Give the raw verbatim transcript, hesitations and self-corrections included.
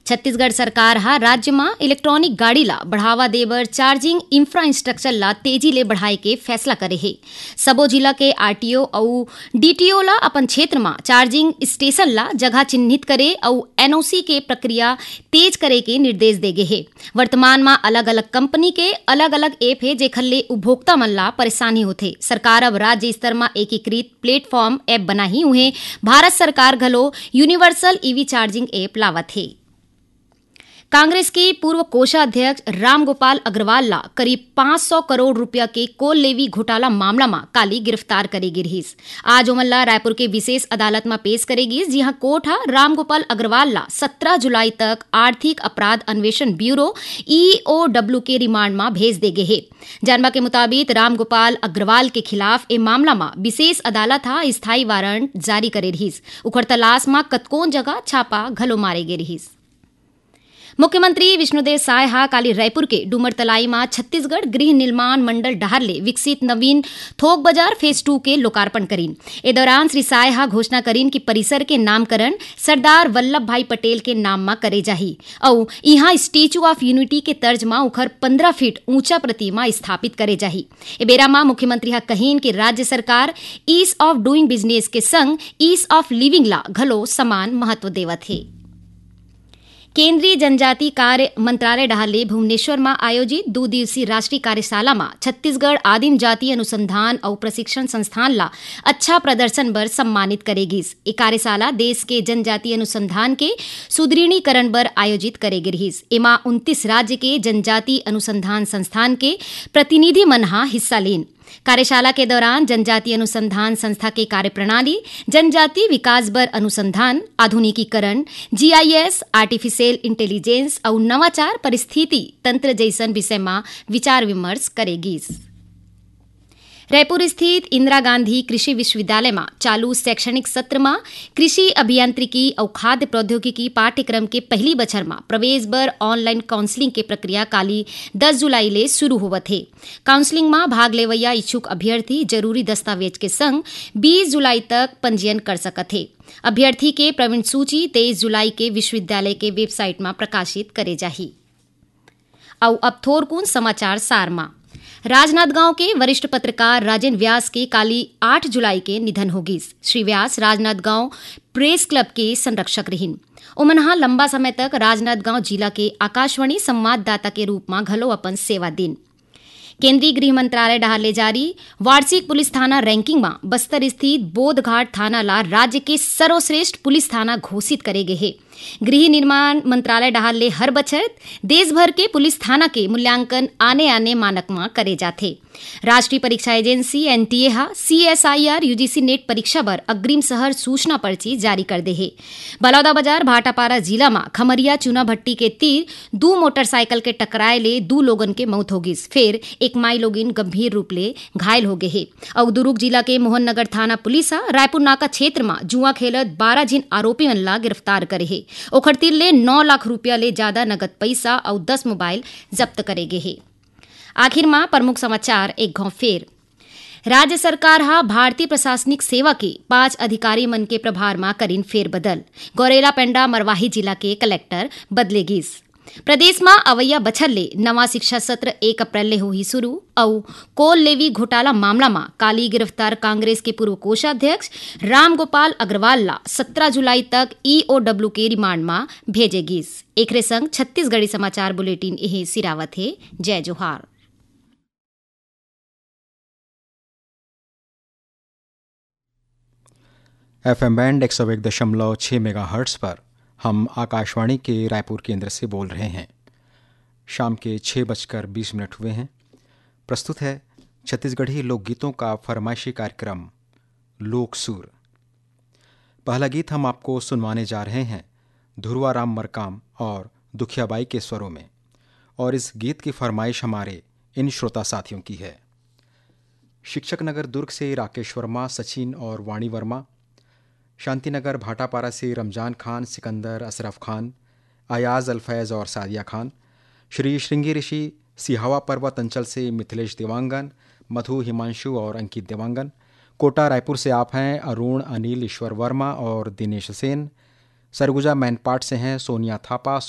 छत्तीसगढ़ सरकार ह राज्य म इलेक्ट्रॉनिक गाड़ी ला बढ़ावा दे बर चार्जिंग इंफ्रास्ट्रक्चर ला तेजी ले बढ़ाए के फैसला करे हे। सबो जिला के आरटीओ अउ डीटीओ ला अपन क्षेत्र म चार्जिंग स्टेशन ला जगह चिन्हित करे अउ एनओसी के प्रक्रिया तेज करे के निर्देश दे गे हे। वर्तमान म अलग-अलग कंपनी के अलग-अलग ऐप हे, जेखर ले उपभोक्ता मन ला परेशानी होथे। सरकार अब राज्य स्तर म एकीकृत प्लेटफॉर्म ऐप बनाही। उहें, भारत सरकार घलो यूनिवर्सल ईवी चार्जिंग ऐप लावत हे। कांग्रेस के पूर्व कोषाध्यक्ष रामगोपाल अग्रवाल ला करीब पाँच सौ करोड़ रुपया के कोल लेवी घोटाला मामला म काली गिरफ्तार करे गे रिहिस। आज ओमन ला रायपुर के विशेष अदालत म पेश करे गिस, जिहां कोर्ट ह रामगोपाल अग्रवाल ला सत्रह जुलाई तक आर्थिक अपराध अन्वेषण ब्यूरो, ईओडब्ल्यू, के रिमांड म भेज दे गे हे। जानबा के मुताबिक, रामगोपाल अग्रवाल के खिलाफ ए मामला म विशेष अदालत ह स्थायी वारंट जारी करे रिहिस। उखर तलाश म कतकोन जगह छापा घलो मारे गे रिहिस। मुख्यमंत्री विष्णुदेव साय ह काली रायपुर के डूमरतलाई म छत्तीसगढ़ गृह निर्माण मंडल डहार ले विकसित नवीन थोक बाजार फेज टू के लोकार्पण करीन। ए दौरान श्री साय ह घोषणा करीन कि परिसर के नामकरण सरदार वल्लभ भाई पटेल के नाम म करे जाही अउ इहां स्टैच्यू ऑफ यूनिटी के तर्ज म उखर पन्द्रह फीट ऊंचा प्रतिमा स्थापित करे जाही। ए बेरा म मुख्यमंत्री ह कहीन कि राज्य सरकार ईज ऑफ डूइंग बिजनेस के संग ईज ऑफ लिविंग ला घलो समान महत्व देवत हे। केंद्रीय जनजाति कार्य मंत्रालय डहार ले भुवनेश्वर म आयोजित दू दिवसीय राष्ट्रीय कार्यशाला म छत्तीसगढ़ आदिम जाति अनुसंधान अउ प्रशिक्षण संस्थान ला अच्छा प्रदर्शन बर सम्मानित करे गिस। ए कार्यशाला देश के जनजाति अनुसंधान के सुदृढ़ीकरण बर आयोजित करे गे रिहिस। एमा उनतीस राज्य के जनजाति अनुसंधान संस्थान के प्रतिनिधि मन ह हिस्सा लीन। कार्यशाला के दौरान जनजाति अनुसंधान संस्था के कार्यप्रणाली, जनजाति विकास बर अनुसंधान, आधुनिकीकरण, जीआईएस, आर्टिफिशियल इंटेलिजेंस अउ नवाचार परिस्थिति तंत्र जइसन विषय म विचार विमर्श करे गिस। रायपुर स्थित इंदिरा गांधी कृषि विश्वविद्यालय म चालू शैक्षणिक सत्र म कृषि अभियांत्रिकी अउ खाद्य प्रौद्योगिकी पाठ्यक्रम के पहिली बछर म प्रवेश बर ऑनलाइन काउंसलिंग के प्रक्रिया काली दस जुलाई ले शुरू होवत हे। काउंसलिंग म भाग लेवइया इच्छुक अभ्यर्थी जरूरी दस्तावेज के संग बीस जुलाई तक पंजीयन कर सकत हे। अभ्यर्थी के प्रवीण सूची तेईस जुलाई के विश्वविद्यालय के वेबसाइट म प्रकाशित करे जाही। अउ अब थोरकुन समाचार सार म। राजनांदगांव के वरिष्ठ पत्रकार राजेन व्यास के काली आठ जुलाई के निधन होगिस। श्री व्यास राजनांदगांव प्रेस क्लब के संरक्षक रिहिन। ओमन ह लंबा समय तक राजनांदगांव जिला के आकाशवाणी संवाददाता के रूप म घलो अपन सेवा दिन। केंद्रीय गृह मंत्रालय डहार ले जारी वार्षिक पुलिस थाना रैंकिंग म बस्तर स्थित बोधघाट थाना ला राज्य के सर्वश्रेष्ठ पुलिस थाना घोषित करे गे हे। गृह निर्माण मंत्रालय डहार ले हर बछर देश भर के पुलिस थाना के मूल्यांकन आने-आने मानक म करे जाथे। राष्ट्रीय परीक्षा एजेंसी, एनटीए, ह सीएसआईआर यूजीसी नेट परीक्षा बर अग्रिम शहर सूचना पर्ची जारी कर दे हे। बलौदाबाजार भाटापारा जिला म खमरिया चूना भट्टी के तीर दू मोटरसाइकिल के टकराए ले दू लोगन के मौत हो गिस, फेर एक माई लोगिन गंभीर रूप ले घायल हो गे हे। अउ दुरूग जिला के मोहन नगर थाना पुलिस ह रायपुर नाका क्षेत्र म जुआ खेलत बारह झिन आरोपी मन ला गिरफ्तार करे हे। ओखर तीर ले नौ लाख रुपया ले जादा नगद पइसा अउ दस मोबाइल जब्त करे गे हे। आखिर म प्रमुख समाचार एक घौं फेर। राज्य सरकार ह भारतीय प्रशासनिक सेवा के पांच अधिकारी मन के प्रभार म करिन फेरबदल। गौरेला पेंडा मरवाही जिला के कलेक्टर बदले गिस। प्रदेश म अवइया बछर ले नवा शिक्षा सत्र एक अप्रैल ले होही शुरू। अउ कोल लेवी घोटाला मामला म काली गिरफ्तार कांग्रेस के पूर्व कोषाध्यक्ष रामगोपाल अग्रवाल ला सत्रह जुलाई तक ईओडब्ल्यू के रिमांड म भेजे गिस। एकरे संग छत्तीसगढ़ी समाचार बुलेटिन इहें सिरावत हे। जय जोहार। एफएम बैंड एक सौ एक दशमलव छः मेगाहर्ट्ज़ पर हम आकाशवाणी के रायपुर केंद्र से बोल रहे हैं। शाम के छः बजकर बीस मिनट हुए हैं। प्रस्तुत है छत्तीसगढ़ी लोकगीतों का फरमाइशी कार्यक्रम लोक सुर। पहला गीत हम आपको सुनवाने जा रहे हैं धुरवा राम मरकाम और दुखियाबाई के स्वरों में, और इस गीत की फरमाइश हमारे इन श्रोता साथियों की है। शिक्षक नगर दुर्ग से राकेश वर्मा, सचिन और वाणी वर्मा, शांतिनगर भाटापारा से रमजान खान, सिकंदर, अशरफ खान, अयाज अल फैज़ और सादिया खान, श्री श्रृंगी ऋषि सिहावा पर्वत अंचल से मिथिलेश देवांगन, मधु हिमांशु और अंकित देवांगन, कोटा रायपुर से आप हैं अरुण, अनिल, ईश्वर वर्मा और दिनेश सेन, सरगुजा मैनपाट से हैं सोनिया थापा,